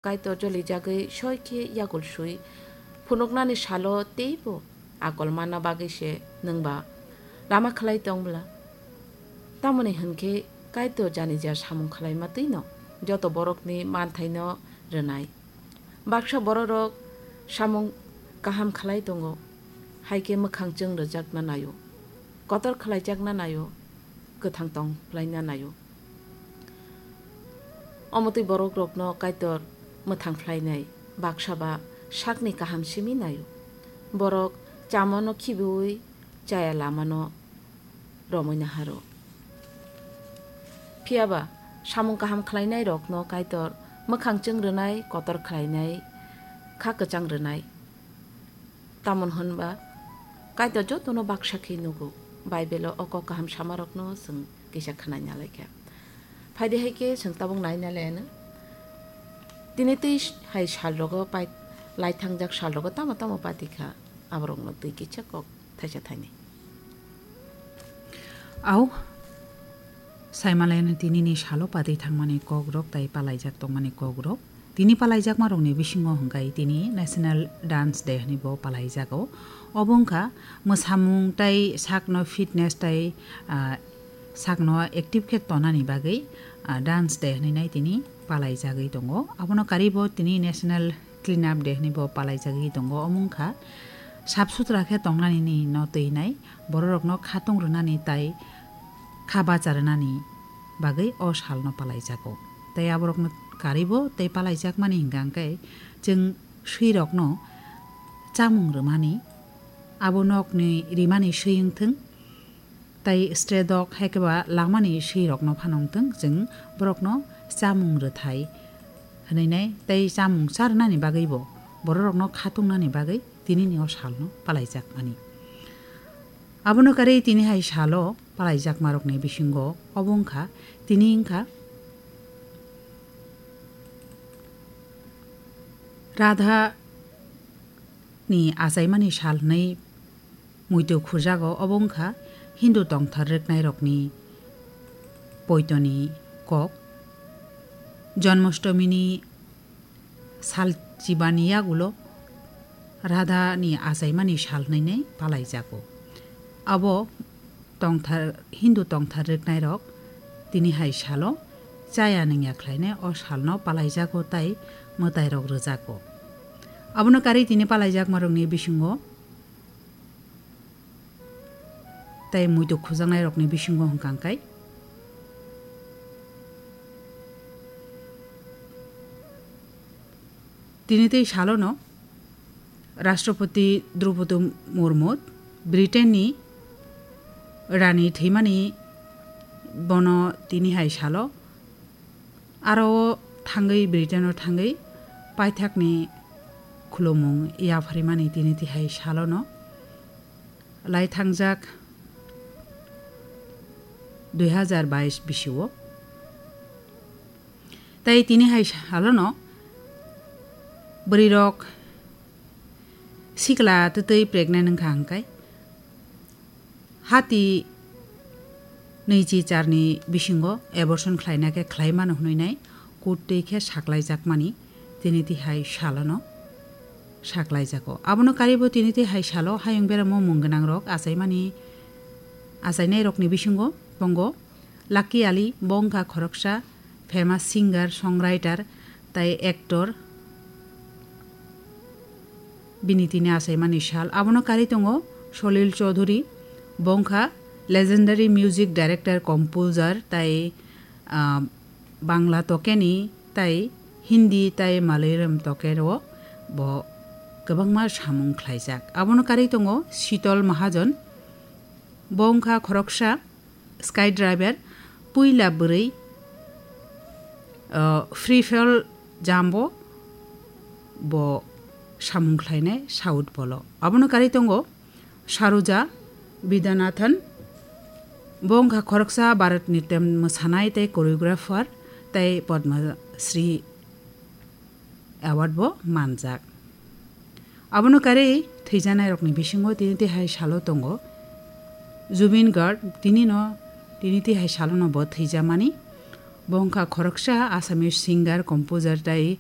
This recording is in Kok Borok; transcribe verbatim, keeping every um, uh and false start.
Kaitor jolijagwi soi khe yagul sui phunuknani salo teibo akol manna bagwi se nwng ba lama khlai tong bwla? Tamoni hwn khe Kaitor janija samung khlaima twino joto borokni manthaino rwnai. Baksa bororok samung kaham khlai tongo, hai khe mwkhang chwng rwjakna naio, kotor khlaijakna naio, kwthang tong phlaina naio. Omo twi borokrokno Kaitor mwthang phlainai, baksa ba sakni kaham simi naio. Borok chamano khibiui chaya lamano romwi naharo. Phiya ba, samung kaham khlainairokno Kaitor mwkhang chwng rwnai, kotor khlainai, kha kwchang rwnai. Tamon hwn ba, Kaitor jotono baksa khe nugo. Baibelo o kok kaham samarokno chwng kisa khwnai nalaikha. Phaidi hai khe chwng tabuk nai nalaiyano. Tini twi hai salrogo pai-, lai thangjak salrogo tamo tamo pati kha, aborokno twi kisa kok thaisa thainwi. Au, saimalaino tinini salo pati thangmani kokrok tai palaijak tongmani kokrok. Tini palaijakmarokni bisingo hwnkhe tini National Dance Day hwnwi bo palaijago. Obo wngkha mwsamung tai sakno fitness tai, ah, sakno active khe tonani bagwi, ah, Dance Day hwnwi nai tini palaijagwi tongo. Abono karwi bo tini National Clean Up Day hwnwi bo palaijagwi tongo. Omo wngkha sap sutra khe tongnani no twi nai, bororokno khatung rwnani tai kha bacha rwnani bagwi o salno palaijago. Tai aborokno karwi bo tei palaijakmani hwnkha hwnkhe chwng swirokno chamung rwmani, abo nokni rimani swi wngthwng, tai stredok hai khe ba langmani swirokno phano wngthwng, chwng borokno chamung rwthai hwnwi nai, tei chamung charwnani bagwi bo bororokno khatungnani bagwi tinini o salno palaijakmani. Abono karwi tini hai salo palaijakmarokni bisingo obo wngkha, tini wngkha Radha ni achaimani sal hwnwi muitu khujago, obo wngkha Hindu tongthar rwknairokni poitoni kok. Janmastomini sal chibani yagulo Radha ni achaimani sal hwnwi nai palaijago. Abo tongthar, Hindu tongthar rwknairok tini hai salo chaya nungya khlainai o salno palaijago tai mwtairok rwjago. Abono karwi tini palaijakmarokni bisingo tai muitu khujaknairokni bisingo hwnkha hwnkhe tini tei salono Rashtrapati Droupadi Murmu, Britain ni Rani thwimani bono tini hai salo aro o thangwi, Britain o thangwi paithakni khulumung yapharimani tini tihai salono lai thangjak dui hazar bais bisio. Tai tini hai salono bwrwirok sikla twtwi pregnant wngkha hwnkhe hati nwichi charni bisingo abortion khlaina khe khlai mano hwnwi nai court twi khe saklaijakmani tini tihai salono saklaijago. Abono karwibo tini tihai salo hayung beramo mung gwnangrok achaimani, achainairokni bisingo tongo Lucky Ali, bo wngkha khoroksa famous singer, songwriter tai actor. Bini tini achaimani sal. Abono karwi tongo Solil Chowdhury, bo wngkha legendary music director, composer tai, ah, Bangla tokeni tai Hindi tai Malayalam tokero bo kwbangma samung khlaijak. Abono karwi tongo Shitol Mahajon, bo wngkha khoroksa sky driver, puila bwrwi, ah, free fall jump o bo samung khlainai South Pole o. Abono karwi tongo Saroja Vidyanathan, bo wngkha khoroksa Bharatanatyam mwsanai tei choreographer tei Padma Shri award bo manjak. Abono karwi thwijanairokni bisingo tini tihai salo tongo Zubeen Garg, tini no, tini tihai salono bo thwijamani. Bo wngkha khoroksa Assamese singer, composer tei